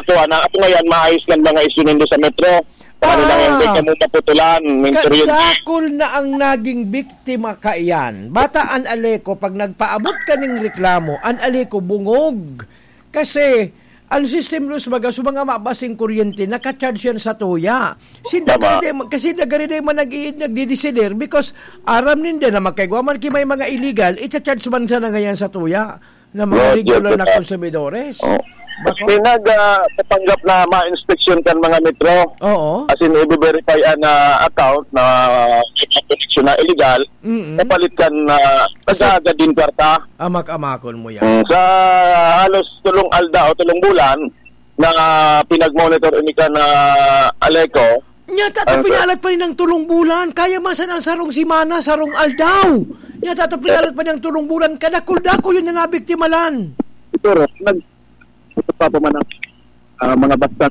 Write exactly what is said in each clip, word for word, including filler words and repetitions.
So, ana, ato ngayon, maayos ng mga isyu nindo sa metro. Kung ano lang yan, Ah. kaya mo maputulan, may kuryente. Kadakol na ang naging biktima kaiyan. Bata an Aleco, pag nagpaabot ka ning reklamo, an Aleco bungog. Kasi, ang system loss baga, so mga mabasing kuryente, naka-charge yan sa tuya. Sinda Tama. gari di ma-, kasi nagari di man nag-i-, nagdidesider because aram ninda na magkaigwa man ki may mga illegal, icha-charge man sana ngayon sa tuya ng mga Roger, regular na totoo. konsumidores. Oh. Bako? Pinag, ah, papanggap na ma-inspection kan mga metro. Oo. As in, i-verify an, ah, account na may mga koneksyon na illegal. Mm-mm. Kapalit kan, ah, Kasi nagagad din kwarta. Amak-amakon mo yan. Mm, sa halos tulong aldaw, tulong bulan, na pinag-monitor ini kan Aleco. Nya, tata Ano, sir? pinalat pa rin ng tulong bulan. Kaya man sana ang sarong simana, sarong aldaw. Nya, tata pinalat pa rin ng tulong bulan. Kadakul-dakul yun na nabiktimalan. Siguro, nag-, ito pa po man ang, ah, mga basta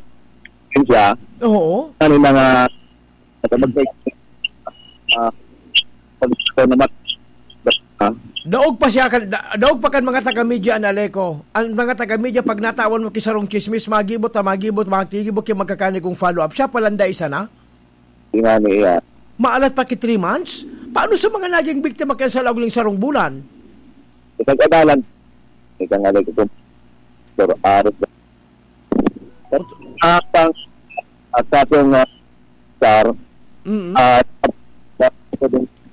siya. Oo. Ano yung mga, ah, pag, ah, pag, ah, Daog pa siya kan, da-, daog pa kan mga taga-media an Aleco. Ang mga taga-media, pag natawan mo ki sarong chismis, magibot ta, magibot, magtigibot ki magkakani kong follow-up. Siya palan dai sana? Ingani, iya. Maalat pa ki three months? Paano sa mga naging biktima kaya sa laog ning sarong bulan? Isang kadalan. Isang Aleco po. Pero aros na. At ang, at sa ating, ah, star, Mm-mm. at, at,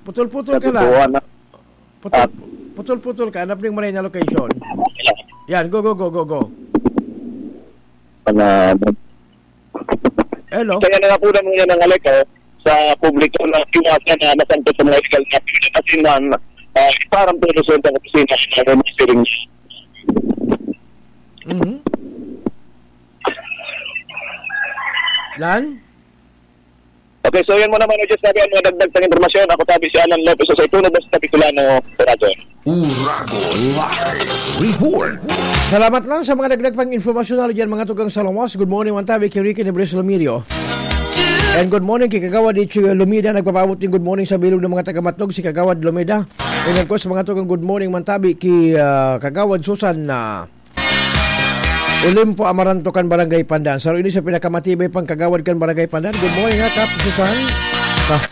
Putol-putol ka lang. Natutuwa na. Putol-, Ah. putol-putol ka. Hanap ning maray na location. Yan, go, go, go, go, go. Mga Hello? Kaya nangapunan mo yan ng Aleco sa publiko na iwasan na masangkot sa mga illegal na activity. Kasi man, ah, parang tulos sa isang opisina na may mga steering. Mhm. Lan? Okay, so yan mo naman, just sabi ang mga dagdag sa impormasyon. Ako tabi si Alan Lopez sa Ituno, basta Bicolano, Radyo. Uragon Live Report. Salamat lang sa mga dagdag pang impormasyon na dyan, mga tugang sa Lawas. Good morning, man tabi ki Ricky Nebres Lomirio. And good morning ki Kagawad Ichi Lumida. Nagpapaabot din good morning sa bilog ng mga taga-Matnog, si Kagawad Lumida. And of course, mga tugang, good morning, man tabi ki, ah, Kagawad Susan, ah, Olimpo Amaranto kan Barangay Pandan. Saro ini sa pinakamatibay pang kagawad kan Barangay Pandan. Good morning, ha, Kap Susan. Ah.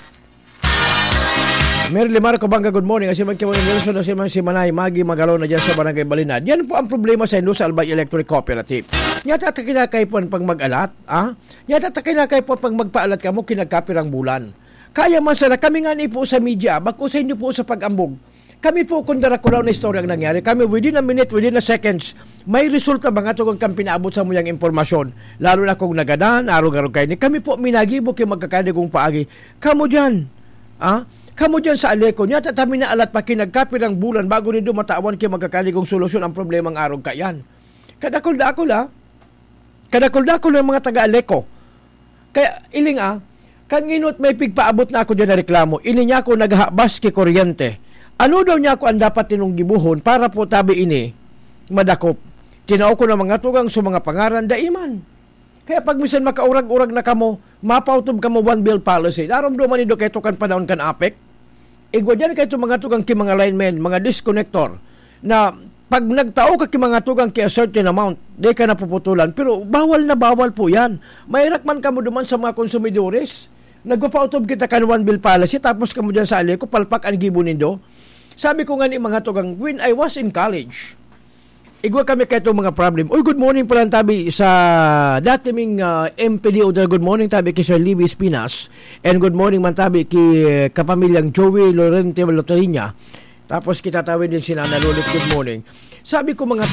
Merly Marco Banga, good morning. Asi man ki Wilson, asi man si Manay Magi Magalona dyan sa Barangay Balinad. Yan po ang problema sa Indo sa Albay Electric Cooperative. Nyata ta kinakaipuhan pang mag-alat, ah? Nyata ta kinakaipuhan pang magpaalat kamo kinagkapirang bulan. Kaya man sana, kami nga ni po sa media, bako sa inyo po sa pag-ambog. Kami po, kung darakulaw na istorya ang nangyari, kami within a minute, within a seconds, may resulta mga tugang kan pinaabot sa muyang impormasyon. Lalo na kung nagadan, arog-arog kayo ni. Kami po, minagibo kayo magkakaligong paagi. Kamo dyan, ah? Kamo dyan sa Aleco, niya tatami na alat pa kinagkapirang bulan bago nindo matawan kayo magkakaligong solusyon ang problemang arog kayan. Kadakol-dakol, ah. Kadakol-dakol ng mga taga-Aleco. Kaya, iling, ah, kan nginot may pigpaabot na ako dyan na reklamo, ini niya ako naghabas ki kuryente. Ano daw niya ako ang dapat ninong gibuhon para po tabi ini madakop? Tinao ko na mga tugang sa mga pangaran, daiman. Kaya pag minsan makaurag-urag na kamo, mapautob kamo one bill policy. Naromdoman nindo kayo kan panahon kan APEC? Igwa dyan kayo mga tugang ki mga linemen, mga disconnector, na pag nagtao ka ki mga tugang ki a certain amount, di ka napuputulan. Pero bawal na bawal po yan. Mahirak man kamo duman sa mga konsumidores. Nagpapautob kita kan one bill policy, tapos kamo dyan sa Aleco, palpak ang gibo nindo. Sabi ko nga ni mga tugang, when I was in college, igwa kami kayo mga problem. Uy, good morning pala tabi sa dati ming, ah, M P D O. Good morning tabi kay Sir Libby Espinas. And good morning man tabi ki, eh, kapamilyang Joey Lorente Loterinya. Tapos kita tawid din si Nana Lulit, good morning. Sabi ko, mga